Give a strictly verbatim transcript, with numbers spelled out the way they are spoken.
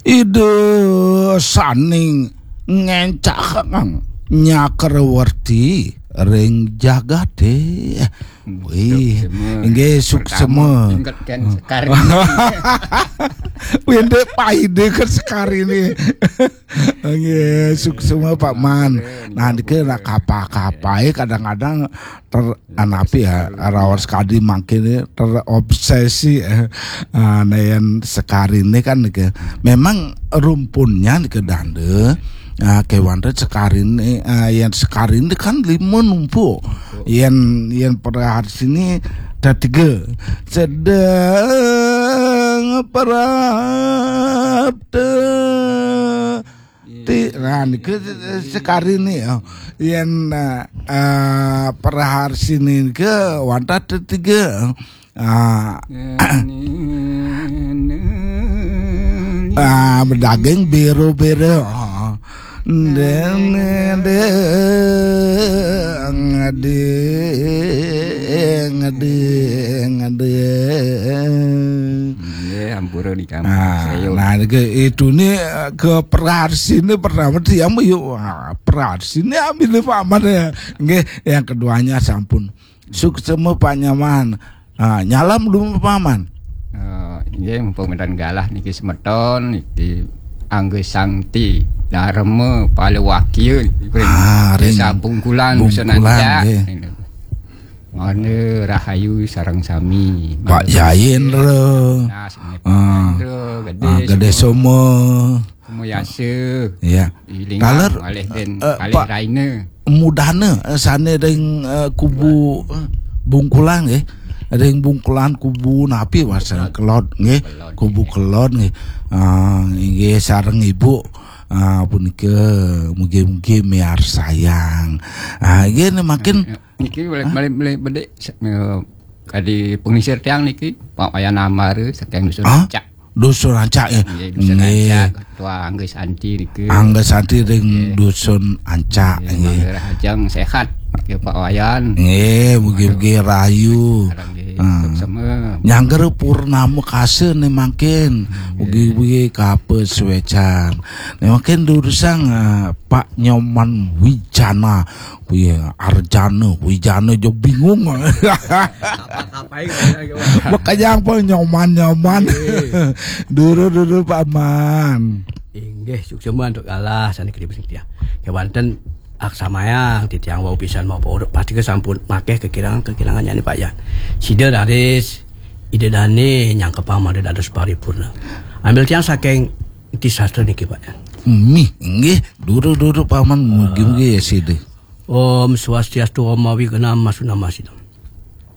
Ida saning ngencakang nyakrawerti ring jagate. Wih, suksema. Inget kan sekar. Wih, ndek paida kan sekar ini. Nggih, suksema Pak Man. Nah, niki lah kapa-kapai kadang-kadang ter anapi ya, raos kadi mangkin terobsesi, eh. Ah, nah, yen sekar ini kan niki. Memang rumpunnya niki dande. Ah, kewan sekar ini, ah, yen sekar ini kan lima numpuk. Yen, yen perhar sini ada tiga. Sedeng perap te- Ti, nah, niki sekar ini ya. Yen, eh, eh, perhar sini ke wantah tiga. Ah, ah, bedaging biru-biru. Ah. Deng, deng, deng, deng, deng. Nggih, ampura di kampung. Nah, nah, ke itu nih, eh, ke perhar sini pertama tiang yuk, ah, perhar sini ambil Pak Man ya. Nggih, yang keduanya sampun. Suksema Pak Nyoman. Ah, nyalam dulu Pak Man. Eh, nggih, mumpung wénten galah niki semeton, niki Angga Sangti, Dharma, Pala Wakil, Ah, ring Desa Bungkulan, Dusun Bungkulan, Ancak. Nggih. Mangda rahayu sareng sami. Pak Mangda Jayendra. Nah, sami Pak Ah. Jayendra, Gedé Ah, Gedé Soma. Soma. Soma Yasa. Iya. Ilingan Taler, kalih den, eh, kalih Pak Raina. Mudana, eh, sane ring, eh, kubu, eh, Bungkulan nggih. Ring Bungkulan kubu napi wasan Kelod. Kelod nggih. Kelod, Kubu nggih. Kelod nggih. Ah, inggih sareng Ibu. Ah, punika mugi-mugi miarsayang. Ah, nggih nemakin Niki boleh, boleh, boleh bedik, eh, kadi pengisir tiang niki, Pak Wayan Amara saking Dusun Ah? Ancak. Dusun Ancak ya. Nggih, Dusun Nggih. Ancak, Ketua Angga Santi niki. Angga Santi ring Nggih. Dusun Ancak Nggih, nggih. Mangga rahajeng sehat niki Pak Wayan. Nggih, mugi-mugi rayu. Sekarang nggih, Ah. suksema. Nyangger purnama kasa nih mangkin. Nggih. Mugi-mugi kapes wecan. Nih mangkin durusang, ah, Pak Nyoman Wijana. Wih, Arjana, Wijana jo bingung. Apa-apain saya, Pak. Makanya apa nyoman-nyoman. Iya. Dulu-dulu Pak Man. Inggih, suksema antuk galah sane kene tiang. Kewanten aksamayang titiang wau pisan mau urut pasti ke sampun makeh kekirangan-kekirangan nyane Pak Yan. Sida raris Ida dane nyangkepang mangda dados paripurna. Ambil tiang saking Enti Sastra niki Pak Yan. Mih, nggih, dulu-dulu Pak Man mugi-mugi ya sida. Om Swastiastu, Om Awignam Masunam Masidam.